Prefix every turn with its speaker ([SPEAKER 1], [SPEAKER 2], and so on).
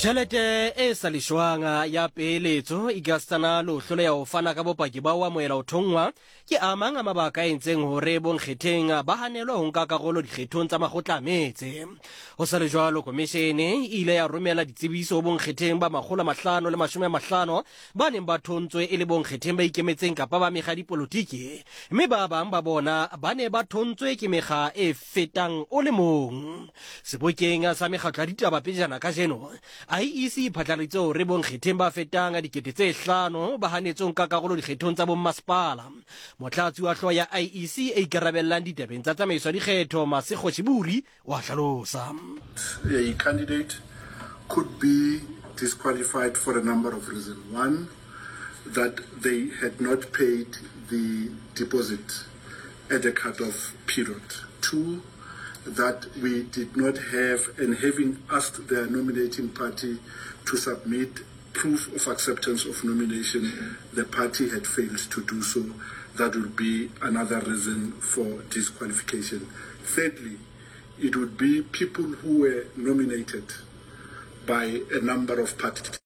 [SPEAKER 1] Tjhelete e sa leshwang ya peeletso ekasitana le ho hloleha ho fana ka bopaki ba ho amohela ho thonngwa ke a mang a mabaka a entseng hore bonkgetheng ba hanelwe ho nka karolo dikgethong tsa makgotla a metse. Ho sa le jwalo, komishene e ile ya romela ditsebiso ho bonkgetheng ba 550 ba neng ba thontswe e le bonkgetheng ba ikemetseng kapa ba mekga ya dipolotiki, mme ba bang ba bona ba ne ba thontswe ke mekga e fetang o le mong. Sebokeng sa mekgatlo ya ditaba pejana kajeno, IEC e phatlaladitse hore bonkgetheng ba fetang 5000 ba hanetswe ho nka karolo dikgethong tsa bommasepala. Motlatsi wa hlooho ya IEC e ikarabellang ditabeng tsa tsamaiso ya dikgetho, Masego Shiburi, o a hlalosa.
[SPEAKER 2] A candidate could be disqualified for a number of reasons. One, that they had not paid the deposit at the cut-off period. Two, that we did not have, and having asked their nominating party to submit proof of acceptance of nomination, the party had failed to do so. That would be another reason for disqualification. Thirdly, it would be people who were nominated by a number of parties.